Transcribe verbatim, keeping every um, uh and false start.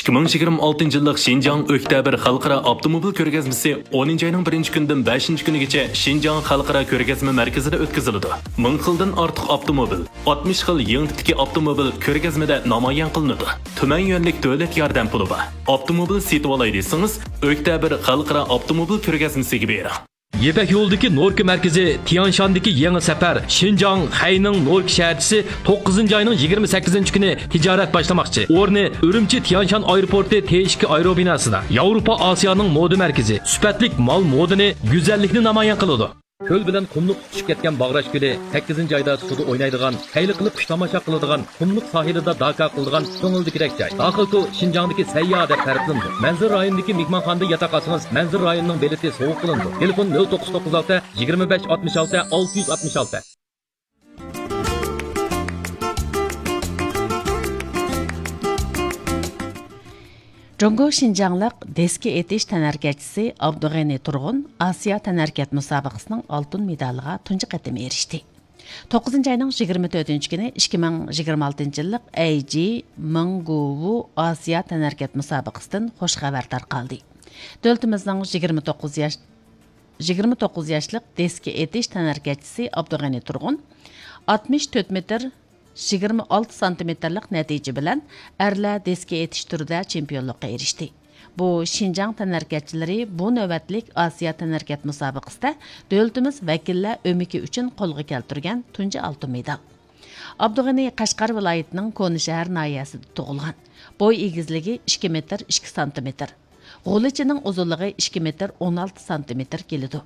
ئىككى مىڭ يىگىرمە ئالتىنچى يىللىق شىنجاڭ ئۆكتەبىر خەلقئارا ئاپتوموبىل كۆرگەزمىسى ئونىنچى ئاينىڭ بىرىنچى كۈنىدىن بەشىنچى كۈنىگىچە شىنجاڭ خەلقئارا كۆرگەزمە مەركىزىدە ئۆتكۈزۈلىدۇ. مىڭ خىلدىن ئارتۇق ئاپتوموبىل، ئاتمىش خىل يېڭى تىپتىكى ئاپتوموبىل كۆرگەزمىدە نامايان قىلىنىدۇ. تۈمەن يۈەنلىك دۆلەت ياردەم پۇلى بار. ئاپتوموبىل سېتىۋالاي دېسىڭىز، ئۆكتەبىر خەلقئارا ئاپتوموبىل كۆرگەزمىسىگە بېرىڭ. يىپەك يولىدىكى نوركا مەركىزى تيانشاندىكى يېڭى سەپەر، شىنجاڭ خەينىڭ نوركا شەھەرچىسى، توققۇزىنچى ئاينىڭ يىگىرمە سەككىزىنچى كۈنى تىجارەت باشلىماقچى. ئورنى ئۈرۈمچى تيانشان ئايروپورتى تې ئىككى ئايروبىناسىدا. ياۋروپا ئاسىيانىڭ مودا مەركىزى، سۈپەتلىك مال مودىنى، گۈزەللىكنى نامايان قىلىدۇ. كۆل بىلەن قۇملۇققا تۇتىشىپ كەتكەن باغراش كۆلى، سەككىزىنچى ئايدا سۇدا ئوينايدىغان، خەيلى قىلىپ قۇش تاماشا قىلىدىغان، قۇملۇق ساھىلىدا داكا قىلىدىغان كۆڭۈلدىكىدەك جاي. داخىلكو شىنجاڭدىكى سەيياھ دەپ تەرىپلىنىدۇ. مەنزىرە رايونىدىكى مېھمانخانىدا ياتاق ئالسىڭىز، مەنزىرە رايونىنىڭ بېلىتى سوۋغا قىلىنىدۇ. تېلېفون: نۆل توققۇز توققۇز ئالتە، يىگىرمە بەش ئاتمىش ئالتە، ئالتە يۈز ئاتمىش ئالتە. جۇڭگو شىنجاڭلىق دىسكا ئېتىش تەنھەرىكەتچىسى ئابدۇغېنى تۇرغۇن ئاسىيا تەنھەرىكەت مۇسابىقىسىنىڭ ئالتۇن مېدالىغا تۇنجى قېتىم ئېرىشتى. توققۇزىنچى ئاينىڭ يىگىرمە تۆتىنچى كۈنى ئىككى مىڭ يىگىرمە ئالتىنچى يىللىق ئەيجى مىڭگۇۋۇ ئاسىيا تەنھەرىكەت مۇسابىقىسىدىن خۇش خەۋەر تارقالدى. دۆلىتىمىزنىڭ يىگىرمە توققۇز ياش، يىگىرمە توققۇز ياشلىق دىسكا ئېتىش تەنھەرىكەتچىسى ئابدۇغېنى تۇرغۇن ئاتمىش تۆت مېتىر يىگىرمە ئالتە سانتىمېتىرلىق نەتىجە بىلەن ئەرلەر دىسكا ئېتىش تۈرىدە چېمپىيونلۇققا ئېرىشتى. بۇ شىنجاڭ تەنھەرىكەتچىلىرى بۇ نۆۋەتلىك ئاسىيا تەنھەرىكەت مۇسابىقىسىدە دۆلىتىمىز ۋەكىللەر ئۆمىكى ئۈچۈن قولغا كەلتۈرگەن تۇنجى ئالتۇن مېدال. ئابدۇغېنى قەشقەر ۋىلايىتىنىڭ كونا شەھەر ناھىيەسىدە تۇغۇلغان. بوي ئېگىزلىكى ئىككى مېتىر ئىككى سانتىمېتىر. غۇلىچىنىڭ ئۇزۇنلۇقى ئىككى مېتىر ئون ئالتە سانتىمېتىر كېلىدۇ.